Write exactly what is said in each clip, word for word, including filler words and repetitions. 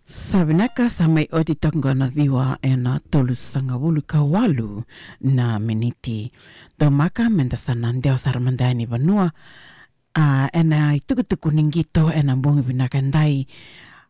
Sa vinaka, sa mai oti toka qo na ciwa ena tolusagavulu ka walu na miniti. Domaka meda sa na dewa sara mada yani vanua. A, ena itukutuku ni qito ena bogi vinaka edai.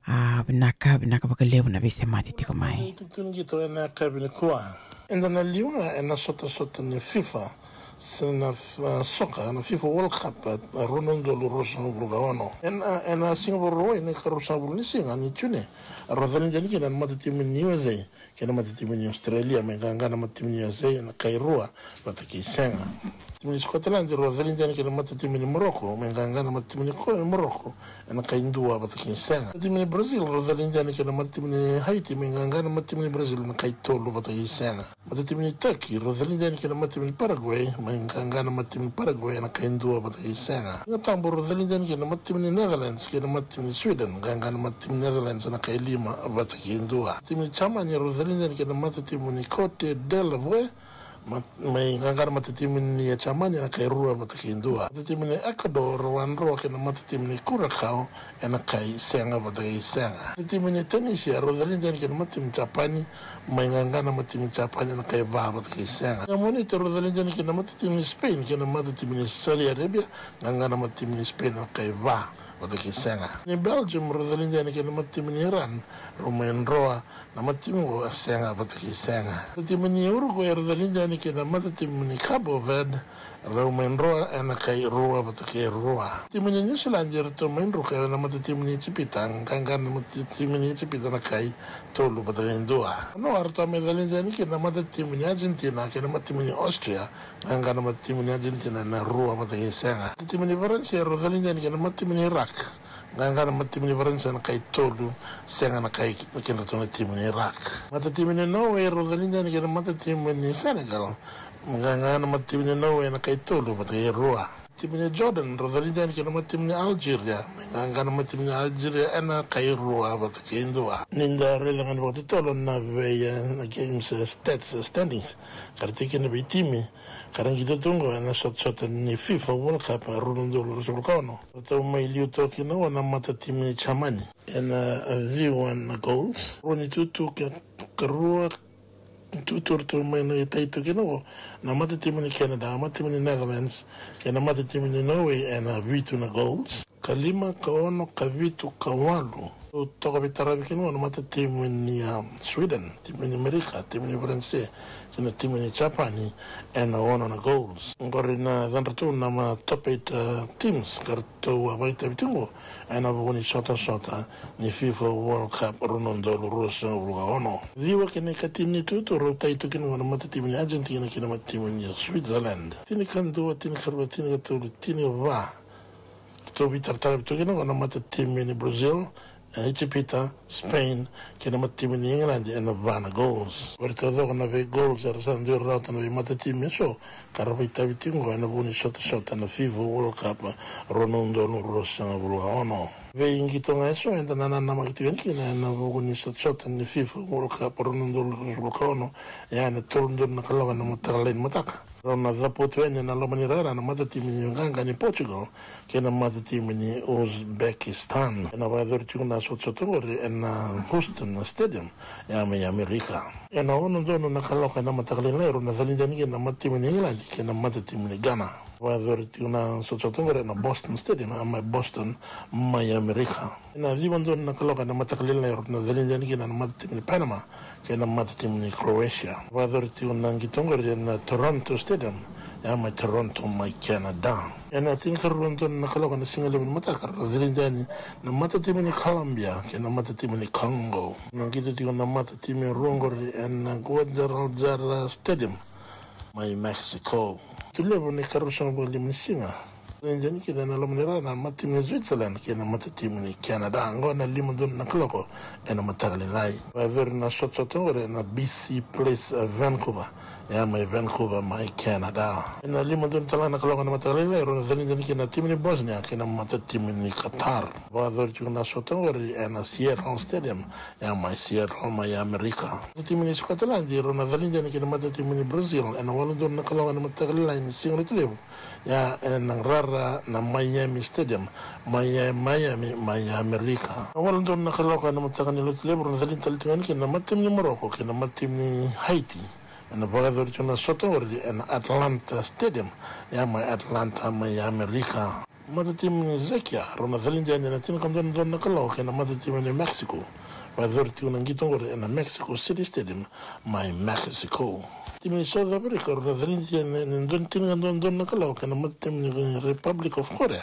A, vinaka, vinaka vakalevu na veisemati tiko mai. Itukutuku ni qito ena yakavi nikua. Eda na liu ga ena sotasota ni FIFA, se na, a, soka, na FIFA World Cup, a, rua na udolu ruasagavulu ka ono. Ena, ena siga Vakarauwai na ikaruasagavulu ni siga ni June, rau calidi yani kina na matatimu ni U S A kei na matatimu ni Australia, mai qaqa na matatimu ni U S A ena kai rua vata kei sega. Timu ni Scotland rau calidi yani kina na matatimu ni Morocco, mai qaqa na matatimu ni ko-, Morocco ena kai dua vata kei sega. Timu ni Brazil rau calidi yani kina na matatimu ni Haiti, mai qaqa na matatimu ni Brazil ena kai tolu vata kei sega. Matatimu ni Turkey rau calidi yani kina na matatimu ni Paraguay, mai qaqa na matatimu ni Paraguay ena kai dua vata kei sega. Siga Tabu rau calidi yani kina na matatimu ni Netherlands kei na matatimu ni Sweden, qaqa na matatimu ni Netherlands ena kai lima vata kei dua. Timu ni Germany rau calidi yani kina na matatimu ni Cote d'Ivoire, ma-, mai qaqa na matatimu ni Germany ena kai rua vata kei dua. Matatimu ni Ecuador rau a dro kei na matatimu ni Curacao ena kai sega vata kei sega. Matatimu ni Tunisia rau calidi yani kei na matatimu ni Japani, mai qaqa na matatimu ni Japani ena kai va vata kei sega. Siga Moniti rau calidi yani kei na matatimu ni Spain kei na matatimu ni Saudi Arabia, qaqa na matatimu ni Spain ena kai va vata kei sega. Ni Belgium rau calidi yani kei na matatimu ni Iran, rau mai dro na matatimu qo e sega vata kei sega. Matatimu ni Uruguay rau calidi yani kei na matatimu ni Cabo Verde, rau mai dro ena kai rua vata kei rua. Timu ni New Zealand eratou mai druka ena matatimu ni Ijipita, qaqa na matatimu ni Ijipita ena kai tolu vata kei dua. Noa ratou mai calidi yani kina na matatimu ni Argentina kei na matatimu ni Austria, qaqa na matatimu ni Argentina ena rua vata kei sega. Timu ni Faransa rau calidi yani kina na matatimu ni Iraq, qaqa na matatimu ni Faransa ena kai tolu, sega na kai kedratou na timu ni Iraq. Matatimu ni Norway rau calidi yani kina na matatimu ni Senegal, qaqa na matatimu ni Norway ena kai tolu vata kei rua. Timu ni Jordan rau calidi yani kina na matatimu ni Algeria, qaqa na matatimu ni Algeria ena kai rua vata kei dua. Ni da raica ga ni vakatotolo na vei, e, na games, e, stats, e, standings, ka ra tiko kina na veitimi ka ra qito tu qo ena sotasota ni FIFA World Cup, e, rua na udolu ruasagavulu ka ono. Ratou mai liu toka kina qo na matatimu ni Germany ena, e, ciwa na goals. Rua ni tutu ke, ka rua tutu ratou mai na itai tu kina qo na matatimu ni Canada, matatimu ni Netherlands kei na matatimu ni Norway ena vitu na goals. Ka lima, ka ono, ka vitu, ka walu. Ratou toka veitaravi kina qo na matatimu ni, a, Sweden, timu ni Amerika, timu ni Faransa kei na timu ni Japani ena ono na goals. Qori na yadratou na ma top eight, a, teams ka ratou a vakaitavi tiko qo ena vuku ni sotasota ni FIFA World Cup rua na udolu ruasagavulu ka ono. Ciwa kei na ikatini ni tutu rau tai tu kina qo na matatimu ni Argentina kei na matatimu ni Switzerland. Tinikadua, tinikarua, tinikatolu, tinikava. Ratou veitarataravi tu kina qo na matatimu ni Brazil, e, Ijipita, Spain kei na matatimu ni England ena va na goals. Qori taucoko na vei goals era sa dui rawata na veimatatimu eso ka ra vakaitavi tiko qo ena vuku ni sotasota na FIFA World Cup rua na udolu ruasagavulu ka ono. Veiqito ga eso eda na nanamaki tiko yani kina ena vuku ni sotasota ni FIFA World Cup rua na udolu ruasagavulu ka ono, ia ena tolu na udolu na kaloko ena mataka lailai ni mataka, rau na cavutu yani ena loma ni rara na matatimi ni qaqa ni Portugal kei na matatimi ni Uzbekistan. Ena vakayacori tiko na sotasota oqori ena Houston Stadium, ya mai Amerika. Ena ono donu na kaloko ena mataka lailai rau na calidi yani kina na matatimi ni England kei na matatimi ni Ghana. Vakayacori tiko na sotasota oqori ena Boston Stadium, ya mai Boston, mai Amerika. Ena ciwa donu na kaloko ena mataka lailai rau na calidi yani kina na matatimi ni Panama kei na matatimi ni Croatia. Vakayacori tiko na qito oqori ena Toronto Stadium, ya mai Toronto, mai Canada. Ena tinikarua donu na kaloko ena sigalevu ni mataka rau na calidi yani na matatimi ni Colombia kei na matatimi ni Congo. Na qito tiko na matatimi rua oqori ena Guadalajara Stadium, mai Mexico. Tulevu na ikaruasagavulu ka lima ni siga, calidi yani kina ena loma ni rara na matatimi ni Switzerland kei na matatimi ni Canada. Oqo na lima donu na kaloko ena mataka lailai. Vakayacori na sotasota oqori ena B C Place, e, Vancouver, ya mai Vancouver, mai Canada. Ena lima donu tale ga na kaloko ena mataka lailai rau na calidi yani kina na timi ni Bosnia kei na matatimi ni Qatar. Vakayacori tiko na sota oqori ena Seattle Stadium, ya mai Seattle, mai Amerika. Matatimi ni Scotland rau na calidi yani kina na matatimi ni Brazil ena walu donu na kaloko ena mataka lailai ni siga Lotulevu, ya ena rara Ra na Miami Stadium, mai Miami, mai Amerika. Na walu donu na kaloko ena mataka ni Lotulevu, rau na calini tale tiko yani kina na matatimi ni Morocco kei na matatimi ni Haiti. Ena vakayacori tiko na sota oqori ena Atlanta Stadium, ya mai Atlanta, mai Amerika. Matatimi ni Czechia, rau na calini yani ena tinikadua na kaloko kei na matatimi ni Mexico. Vakayacori tiko na qito oqori ena Mexico City Stadium, mai Mexico. Timi ni South Africa, rau na calini yani ena dua, tinikadua na kaloko kei na matatimi ni Republic of Korea.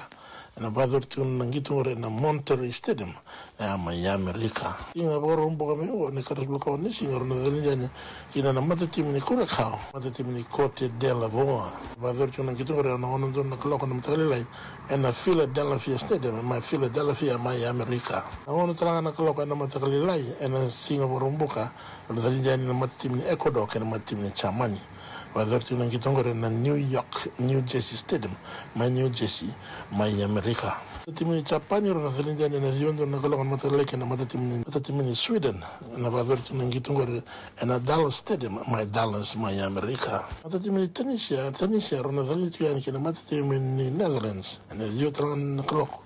Ena vakayacori tiko na qito oqori ena Monterrey Stadium, ya mai Amerika. Siga Vakaraubuka mai oqo, na ikaruasagavulu ka ono ni siga, rau na calini yani kina na matatimi ni Curacao, matatimi ni Cote d'Ivoire. Vakayacori tiko na qito oqori ena ono donu na kaloko na mataka lailai ena Philadelphia Stadium, mai Philadelphia, mai Amerika. Na ono tale ga na kaloko ena mataka lailai ena Siga Vakaraubuka, rau na calini yani na matatimi ni Ecuador kei na matatimi ni Germany. Vakayacori tiko na qito oqori ena New York, New Jersey Stadium, mai New Jersey, mai Amerika. Matatimi ni Japani, rau na calini yani ena ciwa donu na kaloko na mataka lailai kei na matatimi ni, matatimi ni Sweden. Ena vakayacori tiko na qito oqori ena Dallas Stadium, mai Dallas, mai Amerika. Matatimi ni Tunisia, Tunisia, rau na calini tiko yani kei na matatimi ni Netherlands ena ciwa tale ga na kaloko.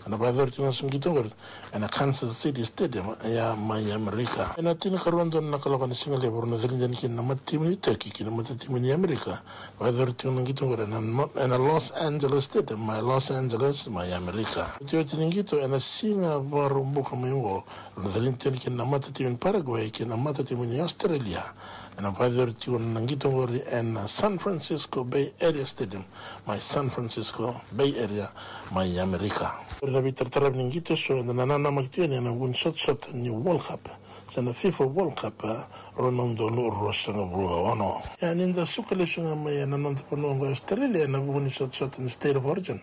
Ena vakayacori tiko na qito oqori ena Kansas City Stadium, ya mai Amerika. Ena tinikarua donu na kaloko na sigalevu, rau na calini yani kina na matatimi ni Turkey kei na matatimi ni Amerika. Vakayacori tiko na qito oqori ena no-, ena Los Angeles Stadium, mai Los Angeles, mai Amerika. Otioti ni qito ena Siga Vakaraubuka mai oqo, rau na calini tiko yani kina na matatimi ni Paraguay kei na matatimi ni Australia. Ena vakayacori tiko na qito oqori ena San Francisco Bay Area Stadium, mai San Francisco Bay Area, mai Amerika. Oqori na veitarataravi ni qito eso eda na nanamaki tiko yani ena vuku ni sotasota ni World Cup, se na FIFA World Cup, rua na udolu ruasagavulu ka ono. Ia, ni da suka lesu ga mai ena noda vanua oqo Australia ena vuku ni sotasota ni State of Origin,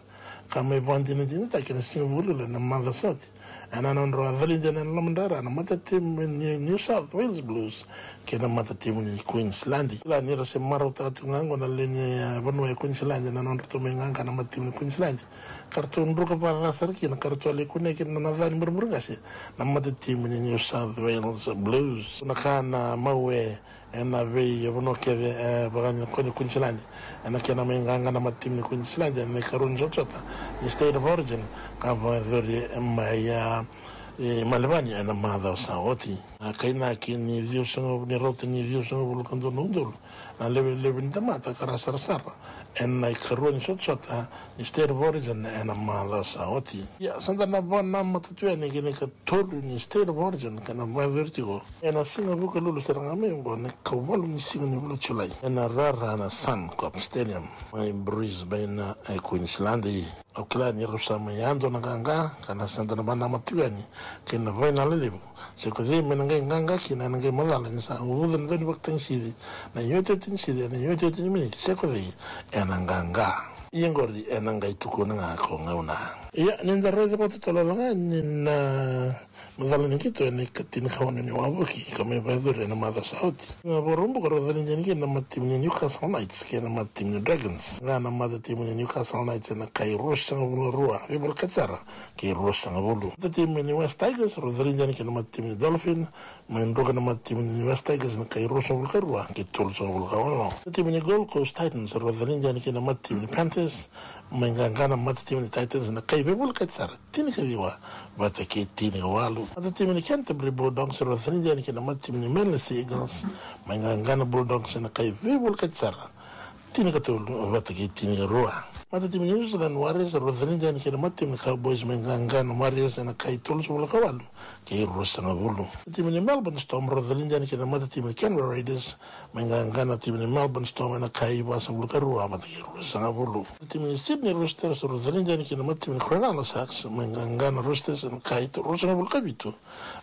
ka mai vakadinadinataki ena siga Vukelulu ena macawa sa oti. Ena nodrau a calini yani ena lomadra na matatimi ni New South Wales Blues kei na matatimi ni Queensland. Kila ni ra se marautaka tu ga oqo na lewe ni, e, vanua e Queensland ena nodratou mai qaqa na matatimi ni Queensland. Ka ratou druka vakaca sara kina, ka ratou a lai kunea kina na ca ni burabura qase na matatimi ni New South Wales Blues. Na ka na mau e ena veivanua kece, e, vaka ni Queensland. Ena kena mai qaqa na matatimi ni Queensland ena ikarua ni sotasota ni State of Origin ka vakayacori mai, a, e, Melbourne ena macawa sa oti. A, kainaki ni ciwasagavulu, ni rauta ni ciwasagavulu ka dua na udolu na levu ni tamata ka ra sarasara ena ikarua ni sotasota ni State of Origin ena macawa sa oti. Ia, sa da na vakanamata tu yani kei na ikatolu ni State of Origin ka na vakayacori tiko ena siga Vukelulu sara ga mai oqo, na ikawalu ni siga ni vula Julai, ena rara na Suncorp Stadium mai Brisbane, e, Queensland. Au kila ni rau sa mai yadua na qaqa, ka na sa da na vakanamata tu yani kei na vaina lelevu. Se ko cei me na qai qaqa kina, ena qai macala ni sa uvuca na daunivakatagisici, na iotioti ni sici, na iotioti ni miniti, se ko cei ena qaqa. Ia oqori ena qai tukuna ga ko gauna. Ia, ni da raica vakatotolo ga ni na macala ni qito ena ikatini ka ono ni wavoki ka mai vakayacori ena macawa sa oti. Siga Vakaraubuka rau calini yani kina na matatimi ni Newcastle Knights kei na matatimi ni Dragons. Ga na matatimi ni Newcastle Knights ena kai ruasagavulu ka rua, veivolekati sara, kei ruasagavulu. Matatimi ni West Tigers rau calini yani kei na matatimi ni Dolphin, mai druka na matatimi ni West Tigers ena kai ruasagavulu ka rua kei tolusagavulu ka ono. Matatimi ni Gold Coast Titans rau calini yani kei na matatimi ni Panthers, mai qaqa na matatimi ni Titans ena kai veivolekati sara, tinikaciwa vata kei tinikawalu. Matatimi ni Canterbury Bulldogs rau calini yani kei na matatimi ni Manly Sea Eagles, mai qaqa na Bulldogs ena kai veivolekati sara, tinikatolu vata kei tinikarua. Matatimi ni New Zealand Warriors rau calini yani kei na matatimi ni Cowboys, mai qaqa na Warriors ena kai tolusagavulu ka walu kei ruasagavulu. Matatimi ni Melbourne Storm rau calini yani kei na matatimi ni Canberra Raiders, mai qaqa na timi ni Melbourne Storm ena kai vasagavulu ka rua vata kei ruasagavulu. Matatimi ni Sydney Roosters rau calini yani kei na matatimi ni Cronulla Sharks, mai qaqa na Roosters ena kai tolusagavulu ka vitu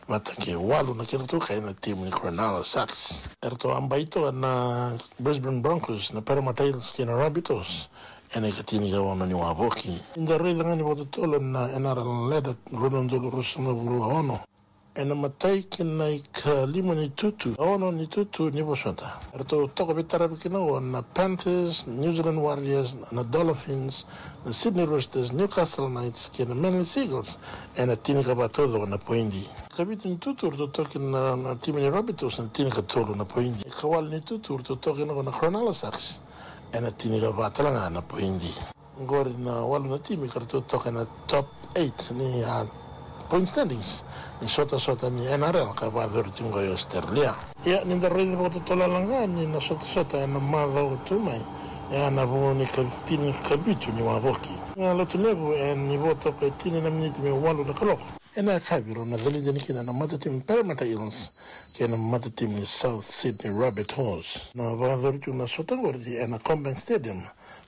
vata kei walu na kedratou kai na timi ni Cronulla Sharks. Eratou a bai toka na Brisbane Broncos, na Parramatta Eels kei na Rabbitohs ena ikatini ka ono ni wavoki. Ni da raica ga ni vakatotolo na N R L ladder rua na udolu ruasagavulu ka ono. Ena imatai kei na ikalima ni tutu, ka ono ni tutu ni vosota, eratou toka veitaravi kina oqo na Panthers, New Zealand Warriors, na Dolphins, na Sydney Roosters, Newcastle Knights kei na Manly Sea Eagles ena tinikava taucoko na poidi. Ikavitu ni tutu eratou toka kina na, na timi ni Rabbitohs ena tinikatolu na poidi. Ikawalu ni tutu eratou toka kina oqo na Cronulla Sharks ena tinikava tale ga na poidi. Oqori na walu na timi ka ratou toka ena top eight ni a point standings ni sotasota ni N R L ka vakayacori tiko oqo i Australia. Ia ni da raica vakatotolo ga ni na sotasota ena macawa tu mai, e a na vu ni ka tini ka vitu ni wavoki. Ga lotu levu e ni vo toka e tini na miniti me walu na kaloko. Ena yakavi rau na calidi yani kina na matatimi Parramatta Eels kei na matatimi South Sydney Rabbitohs. Na vakayacori tu na sota oqori ena CommBank Stadium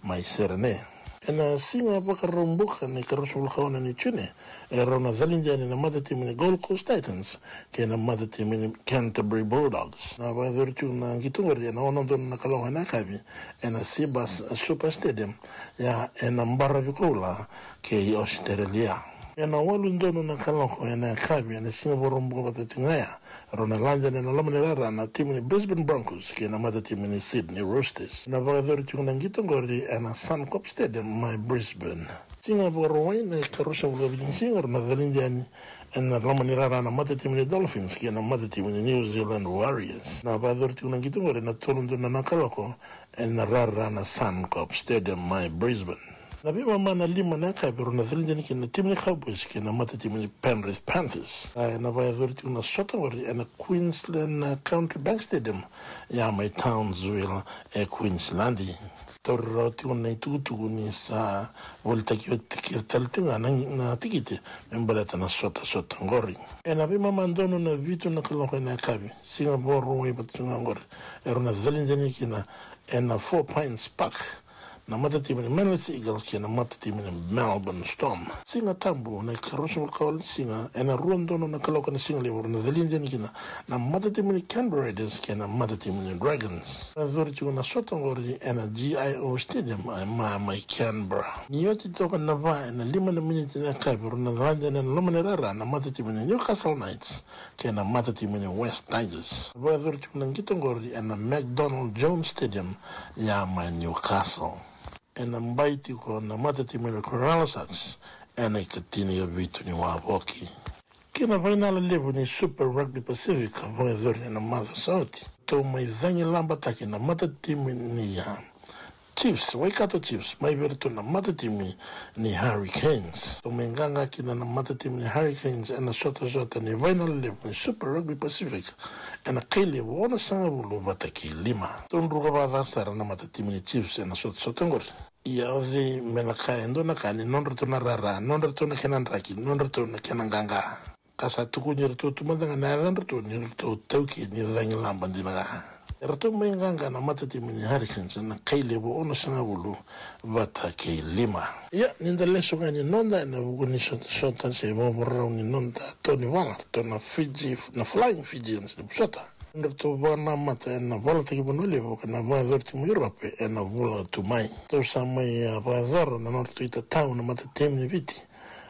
mai Sydney. Ena siga Vakaraubuka ni karusa vulukaona ni June, e rau na calidi yani na matatimi ni Gold Coast Titans kei na matatimi ni Canterbury Bulldogs. Na vakayacori tu na qito oqori ena ono donu na kaloko ena yakavi ena Cbus Super Stadium, ia ena baravi koula kei Australia. Ena walu donu na kaloko ena yakavi ena siga Vakaraubuka vata tiko ga ya, rau na lade ena loma ni rara na timi ni Brisbane Broncos kei na matatimi ni Sydney Roosters. Na vakayacori tiko na qito oqori ena Suncorp Stadium mai Brisbane. Siga Vakarauwai na ikarusa vulukavitu ni siga rau na calidi yani ena loma ni rara na matatimi ni Dolphins kei na matatimi ni New Zealand Warriors. Na vakayacori tiko na qito oqori ena tolu donu na kaloko ena rara na Suncorp Stadium mai Brisbane. Na veimama na lima na yakavi rau na calidi yani kina na timi ni Cowboys kei na matatimi ni Penrith Panthers. A, ena vakayacori tiko na sota oqori ena Queensland na Country Bank Stadium, ia mai Townsville e Queensland. Tauri rawa tiko na itukutuku ni sa volitaki oti kece tale tiko ga na, na tikite me baleta na sotasota oqori. Ena veimama donu na vitu na kaloko ena yakavi, siga Vakarauwai vata tiko ga oqori, e rau na calidi yani kina ena Four Pines Park na matatimi ni Manly Sea Eagles kei na matatimi ni Melbourne Storm. Siga Tabu na ikarusa vulukawalu ni siga, ena rua donu na kaloko ena siga levu rau na calidi yani kina na matatimi ni Canberra Raiders kei na matatimi ni Dragons. Vakayacori tiko na sota oqori ena G I O Stadium, e, mai Canberra. Ni oti toka na va ena lima na miniti na yakavi rau na lade ena loma ni rara na matatimi ni Newcastle Knights kei na matatimi ni West Tigers. Vakayacori tiko na qito oqori ena McDonald Jones Stadium, ia mai Newcastle. Ena bai tiko na matatimi ni Cronulla Sharks ena ikatini ka vitu ni wavoki. Kei na fainala levu ni Super Rugby Pacific ka vakayacori ena macawa sa oti, ratou mai cagilabataki na matatimi ni, a, Chiefs, Waikato Chiefs, mai vei iratou na matatimi ni Hurricanes. Ratou mai qaqa kina na matatimi ni Hurricanes ena sotasota ni fainala levu ni Super Rugby Pacific ena kai levu onosagavulu vata kei lima. Ratou druka vakaca sara na matatimi ni Chiefs ena sotasota oqori. Ia o cei me na kaya e dua na ka ni nodratou na rara, nodratou na kena draki, nodratou na kena qaqa. Ka sa tukuni iratou tu mada ga na yacadratou ni ratou taukei ni cagilaba dina ga. Eratou mai qaqa na matatimi ni Hurricanes ena kai levu onosagavulu vata kei lima. Ia ni da lesu ga ni noda ena vuku ni sotasota se vakarau ni noda tau ni vala, ratou na Fiji, na Flying Fijians ni vosota. Nodratou vakanamata ena valataki vanua levu ka na vakayacori tiko mai Europe ena vula tu mai. Ratou sa mai, a, vakayacora na nodratou itatau na matatimi ni Viti.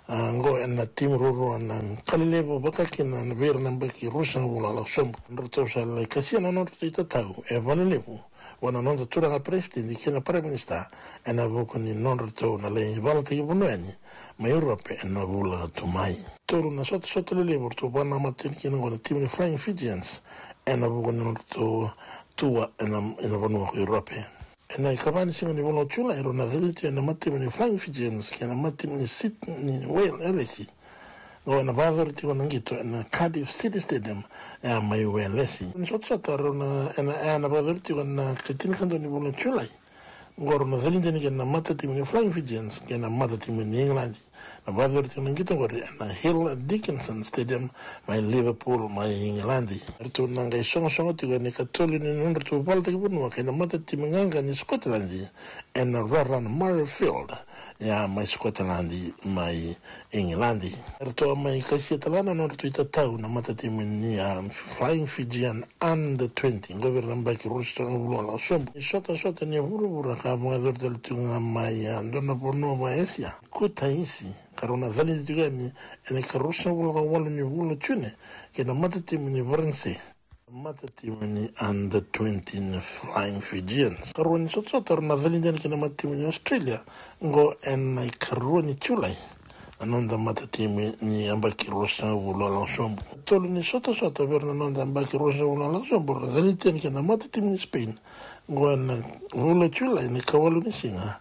A, oqo ena timi ruarua na kali levu vaka kina na vei ira na yabaki ruasagavulu a lako sobu. Nodratou sa lai kasia na nodratou itatau e valelevu vua na noda turaga peresitedi kei na paraiminisita ena vuku ni nodratou na lai valataki vanua yani mai Europe ena vula tu mai. Tolu na sotasota lelevu ratou vakanamata yani kina oqo na timi ni Flying Fijians ena vuku ni nodratou tua ena, ena vanua ko Europe. Ena ikava ni siga ni vula o Julai rau na calidi ena matatimi ni Flying Fijians kei na matatimi ni Sydney Whale Elisi. Oqo ena vakayacori tiko na qito ena Cardiff City Stadium, e a mai Welesi. Ni sotasota rau na, ena, ena vakayacori tiko ena ikatinikadua ni vula o Julai. Oqo rau na calidi yani kina na matatimi ni Flying Fijians kei na matatimi ni Igiladi. Na vakayacori tiko na qito oqori ena Hill Dickinson Stadium mai Liverpool mai Igiladi. Eratou na qai sogosogo tiko ena ikatolu ni nodratou valataki vanua kei na matatimi qaqa ni Scotland ena rara na Murrayfield, e a mai Scotland mai Igiladi. Eratou a mai kasia tale ga na nodratou itatau na matatimi ni, a, Flying Fijian Under twenty, oqo vei ira na yabaki ruasagavulu a lako sobu. Ni sotasota ni vuravura ka vakayacori tale tiko ga mai, a, dua na vanua vaka Asia, Kutaisi, ka rau na calidi tiko yani ena ikaruasagavulu ka walu ni vula o June kei na matatimi ni Varanise, matatimi ni Under twenty ni Flying Fijians. Karua ni sotasota rau na calidi yani kei na matatimi ni Australia, oqo ena ikarua ni Julai, na noda matatimi ni yabaki ruasagavulu a lako sobu. Tolu ni sotasota vei ira na noda yabaki ruasagavulu a lako sobu rau na calidi yani kei na matatimi ni Spain, oqo ena vula o Julai, na ikawalu ni siga,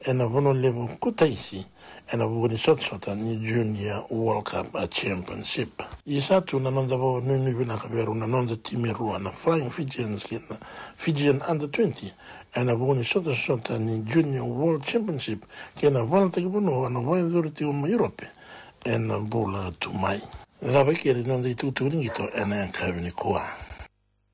ena vanua levu Kutaisi, ena vuku ni sotasota ni Junior World Cup, a, Championship. Ia sa tu na noda vakanuinui vinaka vei rau na noda timi e rua na Flying Fijians kei na Fijian Under twenty, ena vuku ni sotasota ni Junior World Championship kei na valataki vanua na vakayacori tiko mai Europe ena bula tu mai. Cava e keri na noda itukutuku ni qito ena yakavi nikua.